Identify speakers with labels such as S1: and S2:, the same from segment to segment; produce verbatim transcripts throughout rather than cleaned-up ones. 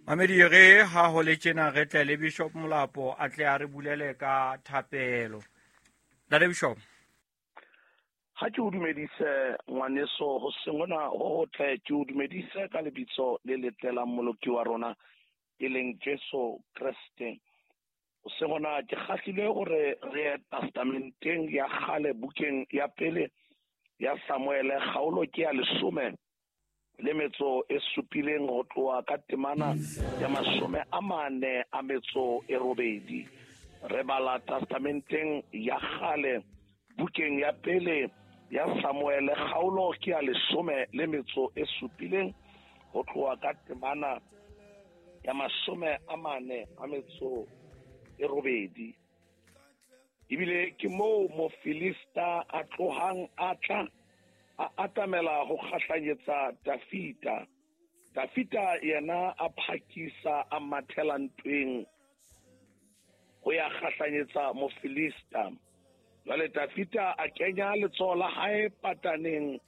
S1: Mamedi re ha ho le tjena re tle le Bishop Molapo a tle a re bulele ka thapelo. Ntate Bishop.
S2: Ha ke o dumedise ngwaneso ho sengona ho hotle, ke o dumedise ka lebitso le letle la Mmoloki wa rona e leng Jesu Kreste. Ho sengona ke kgahlile hore re ye testamenteng ya kgale bukeng ya pele ya Samuele kgaolo ke ya leshome le metso e supileng ho tloha ka temana ya mashome a mane a metso e robedi. Re bala testamenteng ya kgale bukeng ya pele ya Samuele kgaolo ke ya leshome le metso e supileng ho tloha ka temana ya mashome a mane a metso e robedi. Ebile ke moo Mofilista a tlohang a tla a atamela ho kgahlanyetsa Dafita. Dafita yena a phakisa a mathela ntweng ho ya kgahlanyetsa Mofilista. Jwale Dafita a kenya letsoho la hae pataneng,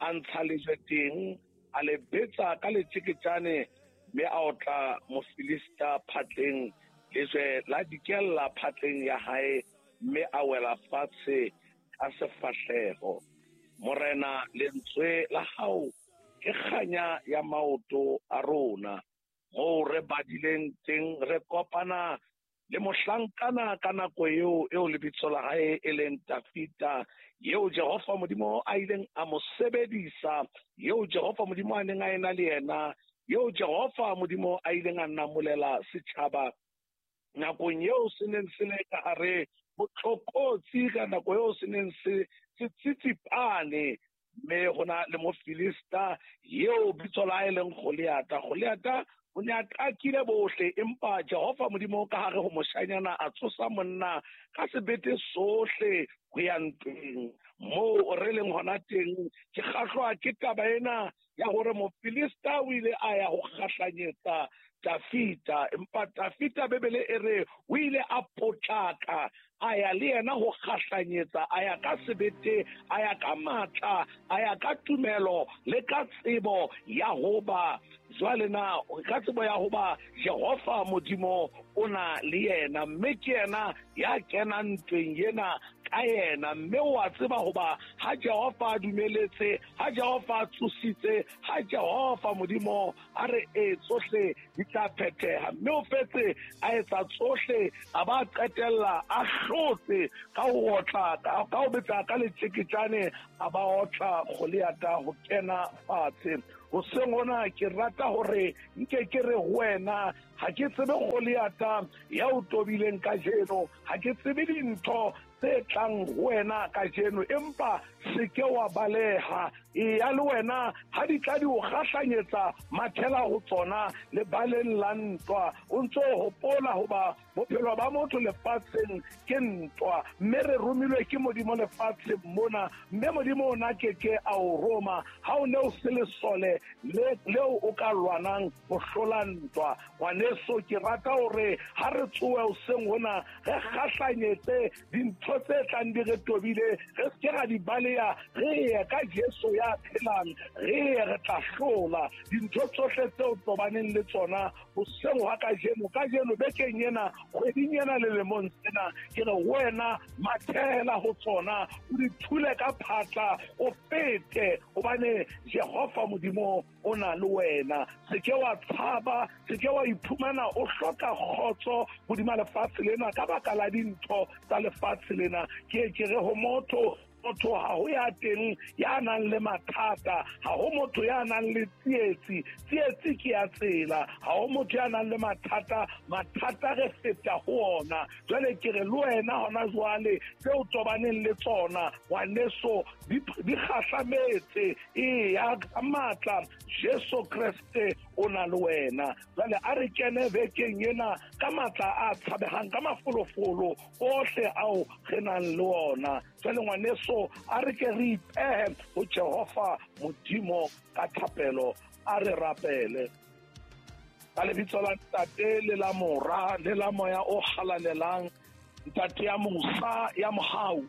S2: a ntsha lejwe teng, a le betsa ka letjeketjane, mme a otla Mofilista phatleng. Lejwe la dikella phatleng ya hae, mme a wela fatshe ka sefahleho. Morena, lentswe la hao ke kganya ya maoto a rona. Moo re badileng teng re kopana le mohlankana ka nako eo eo lebitso la hae e leng Dafita, eo Jehova Modimo a ileng a mo sebedisa, eo Jehova Modimo a neng a ena le yena, eo Jehova Modimo a ileng a namolela setjhaba nakong eo se neng se le ka hare ho tlokotsi, ka nako eo se neng se se tsitsipane. Mme ho na le Mofilista eo bitso la hae leng Goliata. Goliata o ne a qakile bohle, empa Jehova Modimo ka hare ho moshanyana a tsosa monna ka sebete sohle ho ya ntweng. Moo re leng hona teng, ke kgahlwa ke taba ena ya hore Mofilista o ile a ya ho kgahlanyetsa Dafita, empa Dafita Bibele e re o ile a potlaka a ya le yena ho kgahlanyetsa, a ya ka sebete, a ya ka matla, a ya ka tumelo le ka tsebo ya hoba jwale na ka tsebo ya hoba Jehova Modimo o na le yena, mme ke yena ya kenang ntweng ena ka yena. Mme o a tseba hoba ha Jehova a dumeletse, ha Jehova a tsositse, ha Jehova Modimo a re e tsohle di tla phetheha. Mme o fetse a etsa tsohle, a ba qetella a hlotse ka ho otla, ka ho betsa ka letjeketjane, a ba otla Goliata ho kena fatshe. Hoseng hona ke rata hore nke ke re ho wena, ha ke tsebe Goliata ya o tobileng kajeno, ha ke tsebe dintho tse tlang ho wena kajeno, empa se ke wa baleha. Eya le wena ha di tla di o kgahlanyetsa, mathela ho tsona lebaleng la ntwa. O ntso hopola hoba bophelo ba motho lefatsheng ke ntwa, mme re romilwe ke Modimo lefatsheng mona, mme Modimo ona ke ke a o roma ha o ne o se lesole le leo o ka lwanang ho hlola ntwa. Ngwaneso, ke rata hore ha re tsohe hoseng hona re kgahlanyetse dintho tse tlang di re tobile, re se ke ra di baleha, re ye ka Jesu ya phelang, re ye re tla hlola dintho tsohle tseo tobaneng le tsona hoseng hwa kajeno. Kajeno bekeng ena, kgweding ena, le lemong sena, ke re wena mathela ho tsona, o di thule ka phatla, o fete, hobane Jehova Modimo o na le wena. Se ke wa tshaba, se ke wa iphumana o hloka kgotso hodima lefatshe lena ka baka la dintho tsa lefatshe lena. Ke ke re ho motho, motho ha ho ya teng ya nang le mathata, ha ho motho ya nang le tsietsi, tsietsi ke ya tsela, ha ho motho ya nang le mathata, mathata re feta ho ona. Jwale ke re le wena hona jwale tseo tobaneng le tsona ngwaneso di kgahlametse, eya ka matla, Jesu Kreste o na le wena. Jwale a re kene bekeng ena ka matla a tshabehang, ka mafolofolo ohle ao re nang le ona. Jwale ngwaneso, a re ke re ipehe ho Jehova Modimo ka thapelo. A re rapele ka lebitso la Ntate le la Mora le la Moya o Halalelang. Ntate ya mosa ya mohau,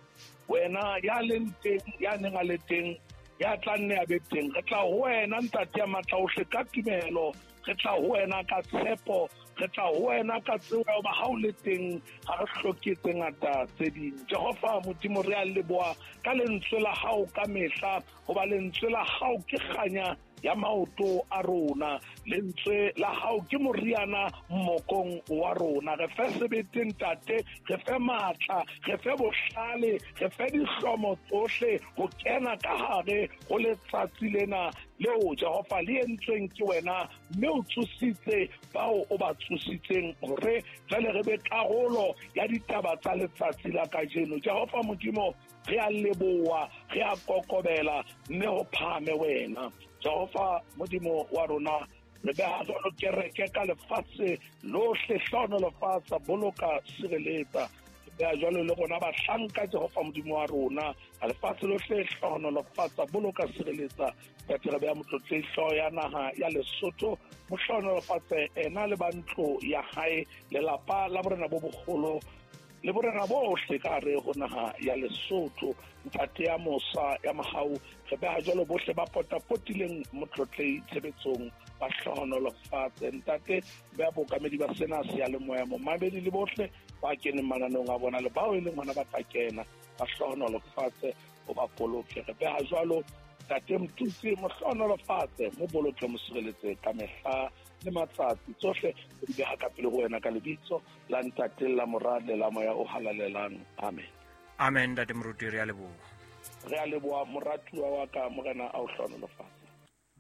S2: wena ya leng teng, ya neng a le teng, ya tla nne a be teng, re tla ho wena Ntate ya matla ohle ka tumelo, Re tla ho wena ka tshepo, re tla ho wena ka tsebo ya hoba ha o le teng ha re hloke tse ngata tse ding. Jehova Modimo, re a leboha ka lentswe la hao ka mehla, hoba lentswe la hao ke kganya ya maoto a rona, lentswe la hao ke moriana mmokong wa rona. Re fe sebete ntate, re fe matla, re fe bohlale, re fe dihlomo tsohle ho kena ka hare ho letsatsi lena leo Jehova le entsweng ke wena, mme o tsositse bao o ba tsositseng hore jwale re be karolo ya ditaba tsa letsatsi la kajeno. Jehova Modimo, re a leboha, re a kokobela, mme ho phahame wena. Jehova Modimo wa rona, re beha jwalo kereke ka lefatshe lohle, hlohonolofatsa, boloka, sireletsa. Re beha jwalo le rona bahlanka Jehova Modimo wa rona, ka lefatshe lohle, hlohonolofatsa, boloka, sireletsa. Ntate, re beha motlotlehi hlooho ya naha ya Lesotho, mo hlohonolofatse ena le ba ntlo ya hae, lelapa la borena bo boholo le borena bohle ka hare ho naha ya Lesotho. Ntate ya mosa ya mohau, re beha jwalo bohle ba potapotileng motlotlehi tshebetsong, ba hlohonolofatse. Ntate, beha bookamedi ba sena seyalemoya, momamedi le bohle ba keneng mananeong a bona le bao e leng hona ba tla kena, ba hlohonolofatse, o ba boloke. Re beha jwalo Ntate Motutsi, mo hlohonolofatse, mo boloke, mo sireletse ka mehla le matsatsi. Tsohle re di beha ka pele ho wena ka lebitso la Ntate, la Mora le la Moya o Halalelang. Amen.
S1: Amen, Ntate Moruti, re a leboha.
S2: Re a leboha moratuwa wa ka, Morena a o hlohonolofatse.